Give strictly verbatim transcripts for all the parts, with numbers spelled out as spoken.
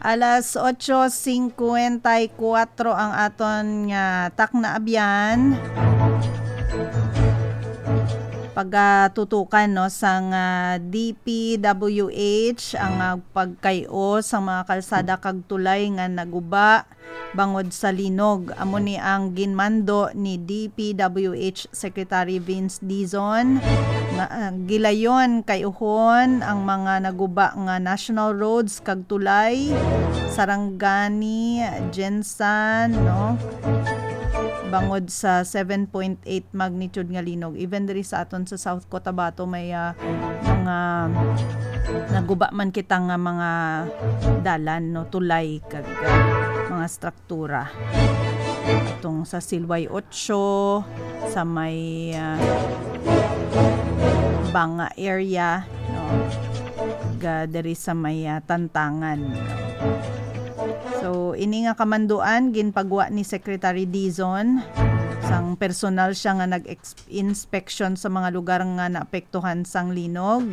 Alas otso cincuenta y cuatro ang aton nga takna, abyan. Pagatutukan, no, sang, ah, D P W H ang, ah, pagkay-o sang mga kalsada kag tulay nga naguba bangod sa linog. Amo ni ang ginmando ni D P W H Secretary Vince Dizon nga, ah, gilayon kay-uhon ang mga naguba nga national roads kag tulay, Sarangani, Gensan, no? Bangod sa seven point eight magnitude nga linog. Even diri sa aton sa South Cotabato may, ah, mga naguba man kita nga mga dalan, no, tulay kag, ah, mga struktura. Atong sa Silway Ocho, sa may, ah, Banga area, no? Ga diri sa may, ah, Tantangan, no? So, ini nga kamanduan ginpagwa ni Secretary Dizon, sang personal siya nga nag-ex-, inspection sa mga lugar nga naapektuhan sang linog.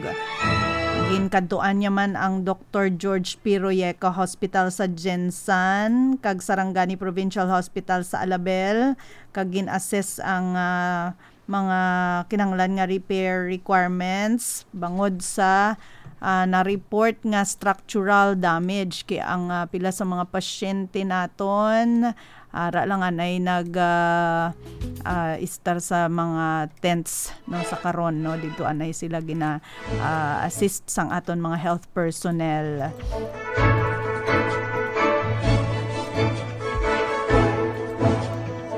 Ginkadtuan niya man ang Doktor George P. Royeca Hospital sa Gensan kag Sarangani Provincial Hospital sa Alabel, kag gin-assess ang, ah, mga kinahanglan nga repair requirements bangod sa, ah, na-report nga structural damage. Kay ang, ah, pila sa mga pasyente naton, ara lang anay nag, ah, ah, istar sa mga tents, no, sa karon, no, didto anay sila gina, ah, assist sang aton mga health personnel.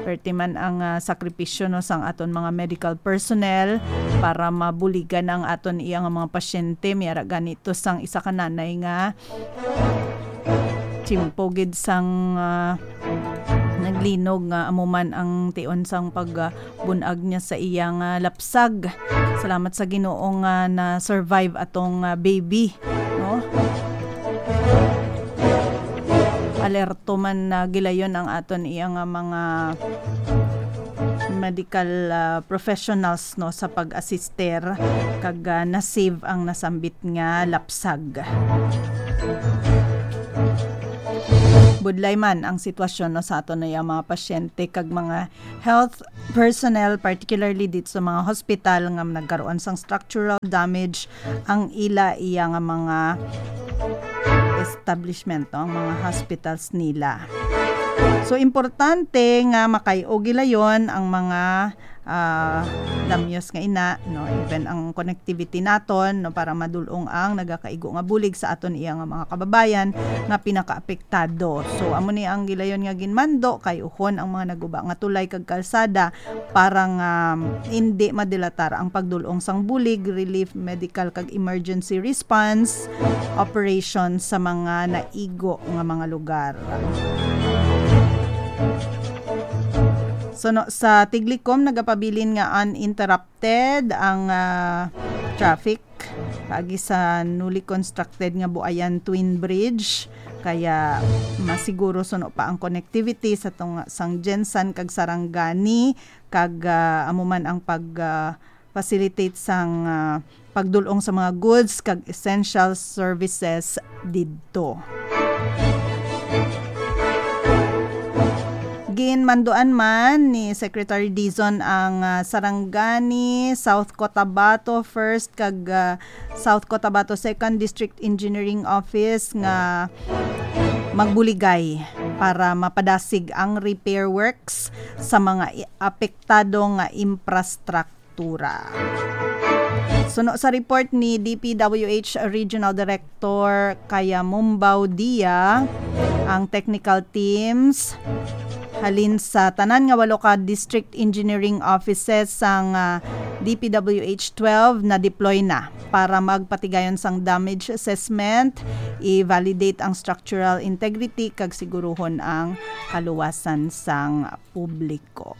Perti man ang, ah, sakripisyo, no, sang aton mga medical personnel para mabuligan ang aton iya nga mga pasyente. May ara gani to sang isa ka nanay nga tiyempo gid sang, ah, naglinog nga amo man ang tion sang pag, ah, bun-ag niya sa iya nga lapsag. Salamat sa Ginoo nga na-survive atong, ah, baby, no? Alerto man na gilayon ang aton iya nga mga medical, ah, professionals, no, sa pag-assister kag, ah, na-save ang nasambit nga lapsag. Budlay man ang sitwasyon, no, sa aton nga mga pasyente kag mga health personnel, particularly dito sa mga hospital nga nagkaroon sang structural damage ang ila iya nga mga establishment, no, ang mga hospitals nila. So, importante nga makay-o gilayon ang mga, ah, damyos nga ina, no, even ang connectivity naton, no, para madulong ang nagakaigo nga bulig sa aton iya nga mga kababayan nga pinakaapektado. So, amo ni ang gilayon nga ginmando, kay-uhon ang mga naguba nga tulay kag kalsada para nga hindi madilatar ang pagdulong sang bulig, relief, medical kag emergency response operation sa mga naigo nga mga lugar. So, no, sa Tiglicom, nagapabilin nga uninterrupted ang, ah, traffic paagi sa newly constructed nga Buayan Twin Bridge, kaya masiguro suno pa ang connectivity sa tunga sang Gensan kag Sarangani, kag, ah, amo man ang pag, ah, facilitate sang, ah, pagdulong sa mga goods kag essential services didto. Ginmanduan man ni Secretary Dizon ang, ah, Sarangani, South Cotabato First kag, ah, South Cotabato Second District Engineering Office nga magbuligay para mapadasig ang repair works sa mga i-, apektado nga infrastructure. Suno sa report ni D P W H Regional Director Kaya Mumbao Dia, ang technical teams halin sa tanan nga walo ka district engineering offices sang, ah, D P W H twelve na deploy na para magpatigayon sang damage assessment, i-validate ang structural integrity, kag siguruhon ang kaluwasan sang publiko.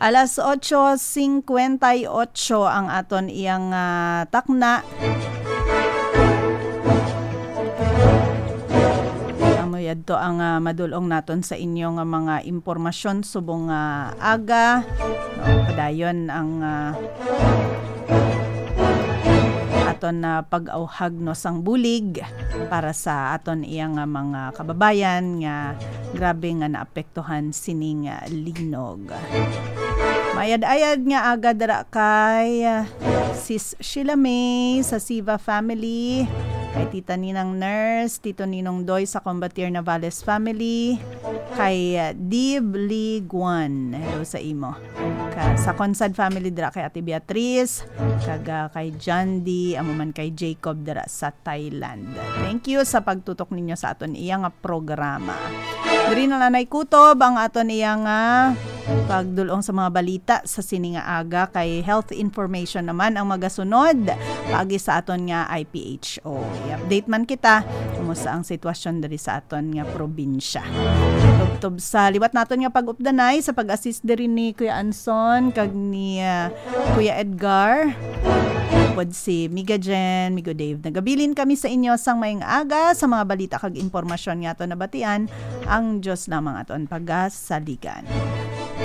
Alas otso cincuenta y ocho ang aton iyang, ah, takna. Amo yadto ang, ah, madulong naton sa inyo nga mga impormasyon subong nga aga. No, padayon ang, ah, aton na pag-awhag, no, sang bulig para sa aton iya nga mga kababayan nga grabe nga naapektuhan sining, ah, linog. Mayad-ayad nga aga dira kay, ah, Sis Sheila May sa Siva family, kay Tita Ninang Nurse, Tito Ninong Doy sa Combatier Navales family, kay, ah, Dib Lee Guan. Hello sa imo. Ka, sa Consad family dira kay Ate Beatriz, kag, ah, kay John D, amo man kay Jacob dira sa Thailand. Thank you sa pagtutok ninyo sa aton iya nga programa. Diri na lang nay kutob ang aton iya nga pagdul-ong sa mga balita sa sini nga aga, kay health information naman ang magasunod paagi sa aton nga I P H O. I-update man kita kumusta ang sitwasyon diri sa aton nga probinsya. Tubtob sa liwat naton nga pag-updanay sa pag-assist diri ni Kuya Anson kag ni, ah, Kuya Edgar. Pod si Miga Jen, Migo Dave. Nagabilin kami sa inyo sang maayong aga sa mga balita kag impormasyon nga aton nabatian. Ang Dios lamang aton pagasaligan.